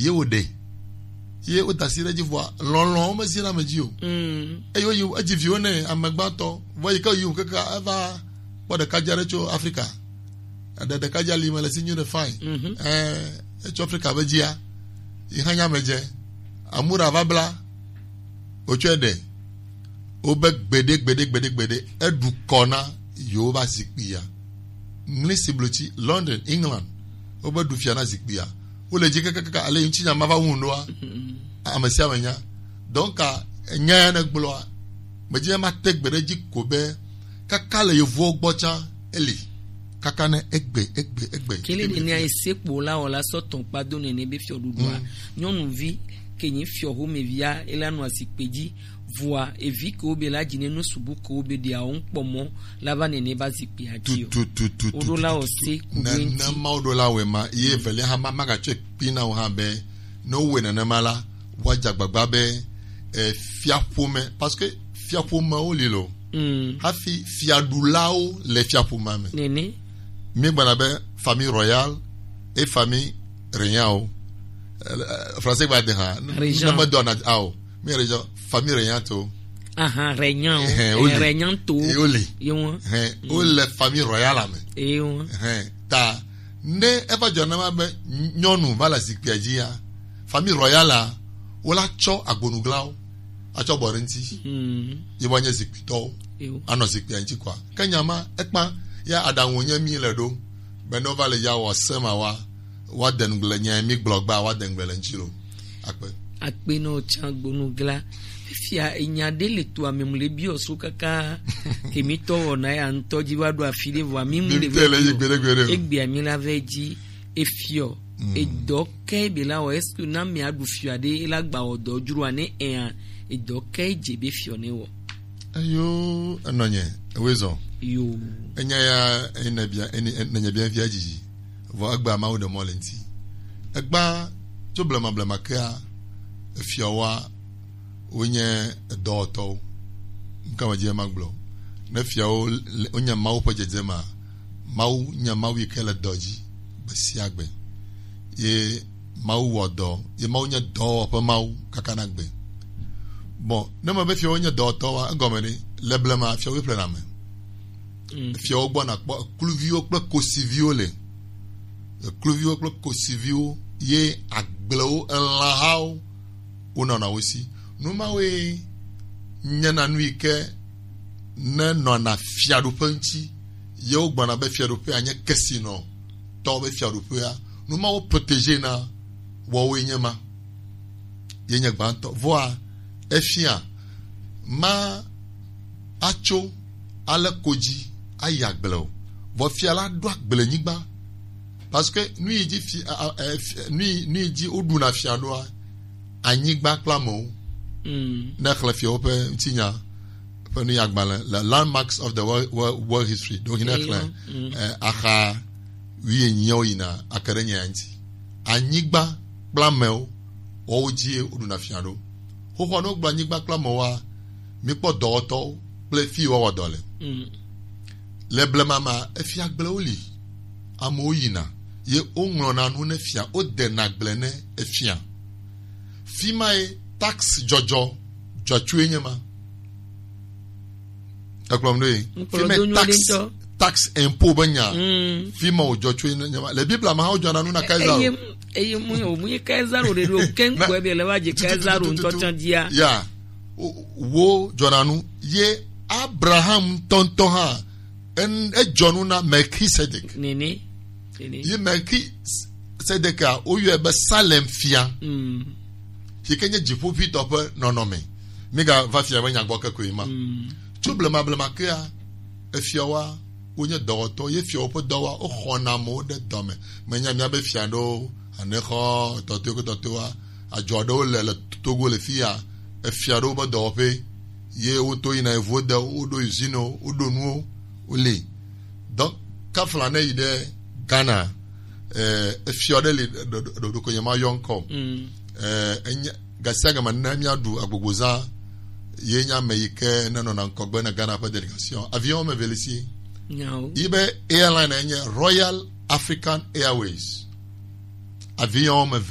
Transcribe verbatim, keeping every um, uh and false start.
Ye wo ɖe. Ye wo da asi ɖe edzi vɔa, lɔlɔ̃ wo mezina ame dzi o. Mm. Eye woyi edzi viwo nɛ, ame gbãtɔ. Vɔ yi ke yi keke eva kpɔ ɖekadze aɖe tso Afrika. Eɖe ɖekadze ali me le si nyuie ɖe fine. Mhm. Ɛ, etso Afrika be dzia, yi hã nya me dze. Amura va bla, wotsɔe ɖe. Wobe gbeɖe, gbeɖe, gbeɖe, gbeɖe. Eɖu kɔ na yewo va zikpuia. Ŋlisi blotsi, London, England. Wobe ɖu fia na zikpuia. Wole dzi kakakaka, ale ŋuti nya ma va wu ŋɖoa, ame sia ame nya. Donc, nya ya ne gblɔa, medzi be mate gbe ɖe edzi ko be, kaka le yevuwo gbɔ tsã, eli. Kaka ne egbe, egbe, egbe. Kele nene a ese kpo la wɔ la sɔ tɔn kpa do nene be fiɔ ɖuɖua. Mm. Nyɔnuvi, ke nyi fiɔ homevia, ela nɔ azikpe dzi, vɔa, evi ke wo be la dzi ne nu subu ke wo be ɖia wo ŋkpɔ mɔ, la va nene ba zikpia dzi o. Tu, tu, tu, tu, Wo ɖo tu, la tu, o tu, se tu. Ku Ne, be ne ŋti. Mawu ɖo la wɛ ma, ye velia hã ma, ma gatsɔe kpi na wo hã be, ne wowɔe nenema la, woadze agbagba be, eh, fiaƒome, parce que fiaƒomewo li lo. Mm. Hafi fiaɖulawo le fiaƒomea me. Nene. Míegblɔna be famille royale et famille régnante o. Eh, eh, français gba de hã. Régent. Ne medɔ na, ah, o. Mi régent, famille régnante o. Ahan, régnant o. Ehɛn, Eh, woli. Régnante o. Ye woli. Ye wo. Ehɛn, Mm. wole famille royale me. Ye wo. Ehɛn, ta, ne eva dzɔ na ma be nyɔnu va le zikpuia dzia, famille royale a, wola tsɔ agbonuglawo atsɔ bɔ ɖe ŋuti. Mm. Ye woanye zikpuitɔwo. Ye wo. Anɔ zikpuia ŋuti kɔa. Ke nya ma, ekpa, ya aɖaŋu nye mi le ɖo. Be ne wova le ya wɔ se ma wa, woade ŋugble nya mi gblɔ gba, woade ŋugble le ŋuti lo. Akpe. Akpe nɔ tsã gbonugla. Fifia enya ɖe le to ame mu le biɔ so kaka ke mi tɔ wɔna ya ŋutɔ dzi va ɖo afi ɖe vɔa mi mu Mi le te le yi gbeɖe gbeɖe o. Egbea mi la vɛ dzi efiɔ. Mm. Edɔ kɛ be la wɔ, est-ce que na mi aɖu fiɔ aɖe la gba wɔ dɔ dzroa ne ea, edɔ kɛ dze be fiɔ ne wɔ? Eyo, enɔnye, ewe zɔ. Yo. Enya ya, enebia, eni-, enenye bia via dzidzi. Vɔ egba Mawu ɖe mɔ le ŋuti. Egba tso blema blema kea, efiawoa, wonye edɔwɔtɔwo. Ŋka me dzi ma gblɔ. Ne fiawo le, wonye Mawu ƒe dzedzema, Mawu nye Mawu yi ke le dɔ dzi gbe sia gbe. Ye Mawu wɔ dɔ, ye Mawu nye dɔwɔƒe Mawu kaka na gbe. Bon, ne me be fiawo nye dɔwɔtɔwoa, egɔme ɖe, le blema fiawo ƒle na me. Mm. Fiawo gbɔna kpɔ ekluviwo kple kosiviwo le. Ekluviwo kple kosiviwo ye agblewo, elãhawo, wonɔna wo si. Nu mawoe nyena nu yi ke ne nɔna fiaɖuƒe ŋuti, ye wogbɔna be fiaɖuƒea nye kesinɔtɔwo be fiaɖuƒea. Nu mawo protégé na wɔwoe nye ma. Ye nye gbãtɔ. Vɔa, efia, ma atso ale ko dzi ayi agble o. Vɔ fia la ɖo agblenyigba. Parce que nu yi dzi fi-, a, a, e, fi-, nu yi, nu yi dzi woɖuna fia ɖoa, anyigba kple amewo. Mm. Ne xlẽ fiawo ƒe ŋutinya ƒe nuyagbalẽ, le Landmarks of the World, World, World History. Donc, ne Eyo. Xlẽ, Mm. eh, axa wuienyiawo yina ake ɖe nya ŋuti. Anyigba kple amewo, woawo dzie woɖuna fia ɖo. Xoxoa ne wogblɔ anyigba kple amewoa, mikpɔ dɔwɔtɔwo kple fi yi woawɔ dɔ le. Mm. Le blema ma, efia agblewo li. Amewo yina, ye woŋlɔna nu ne fia, wodena agble ne efia. Fi ma ye taxe dzɔdzɔ dzɔtsoe nye ma. Ekplɔm ɖo ye. Ŋkplɔ Fi ma do ye nyo ɖe taxe, ŋutɔ. Taxe impôt be nya. Mm. Fi ma wòdzɔ tsoe nye ma. Le Biblia me hã wodzɔna nu na Kaisaro. Eye, eye mu, mu ye Kaisaro ɖe ɖo, ke Na- ŋkpɔe be le va dze Kaisaro ŋutɔ tsã dzia. Ya. Wo, wo dzɔna nu. Ye Abraham ŋutɔŋutɔ hã, en-, edzɔ nu na Melchizedek. Nene. Nene. Yi Melchizedek a, woyɔe be Salem fia. Mm. Yi ke nye dziƒoʋĩtɔ ƒe nɔnɔme. Mígava fia be nya gbɔ keke ma. Mm. Tso blema blema kea, efiawoa, wonye dɔwɔtɔ, ye fiawo ƒe dɔwa, woxɔna amewo ɖe dɔ me. Menya míabe fia ɖewo, Anexɔ, etɔtɔwo kple tɔtɔwoa, adzɔ aɖewo le, le Togo le fi ya, efia ɖewo be dɔwɔƒe, ye woto yina evo de, woɖo usine wo, woɖo nuwo, woli. Donc, kafla ne yi ɖe Ghana, eh, efia ɖe li, ɖo, ɖo, ɖo, ɖo ko nye ma yɔ ŋkɔ. Mm. Eh, enye, gasiagame ne míaɖu agbogbozã, ye nye ame yi ke ne nɔna ŋgɔgbe na Ghana ƒe délégation. Avion me velisi. Nyawo. Yi be airline enye Royal African Airways. Avion me